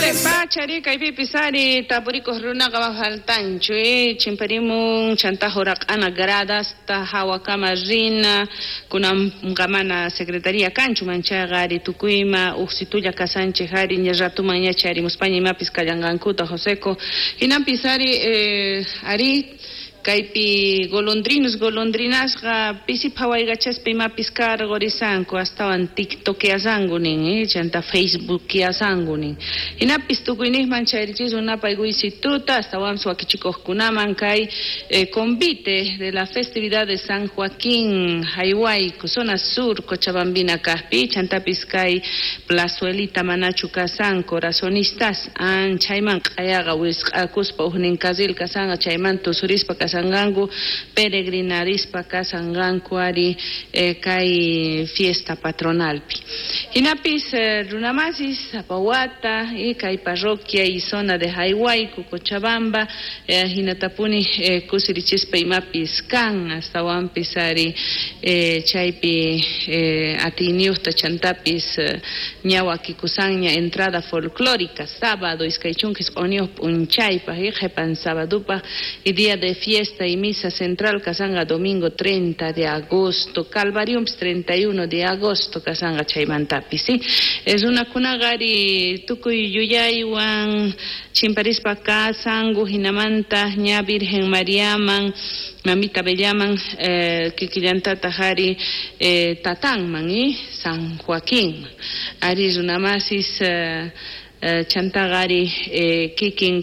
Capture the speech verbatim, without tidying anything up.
Pachari kaypipis ari tapurikuq runaqa faltanchu eh chimparimun chanta huraq'ana gradasta hawakama rina kunanqa mana secretaría kanchu manchayqa ari tukuyma uqsitulla kasanchik ari ña ratuman ña chayarimuspaña imapis kallanqankuta Joseco hinanpis ari eh, ari kaypi golondrinos golondrinasqa pisi phawaykachaspa imapis karqurisanku astawan tiktokeasanku nin eh, chanta facebookeasanku nin hinapis tukuyniqman chayrichisun napay guysituta astawanpis wakichikuqkunaman kay eh, convite de la festividad de San Joaquín Jaywayku zona sur Cochabambina kaqpi chantapis kay plazuelita manachu kasan corazonistas an chayman q'ayaqa wisq'akuspa ujnin carril kasanqa chayman tusurispa kasanqanku peregrinarispa kasanqanku ari eh, kay fiesta patronalpi hinapis eh, runamasis sapa wata y kay parroquia y zona de Jaywayku Cochabamba eh, hinatapuni eh, kusirichispa imapis kan astawanpis ari eh, chaypi eh, atiyniyuqta chantapis eh, ña wakikusanña entrada folclórica sábado iskay chunka isq'unniyuq p'unchaypaq y qhipan sabadupaq y día de fiesta y misa central kasanga domingo treinta de agosto Calvariumpis treinta y uno de agosto kasanga chaymantapis ¿sí? Es runakunaqa ari tukuy yuyaywan chimparispa kasanku hinamanta ña Virgen Mariaman Mamita Bellaman eh, kikillantataq ari eh, tatanman y San Joaquín ari runamasis eh, eh, chantaqa ari eh, kikin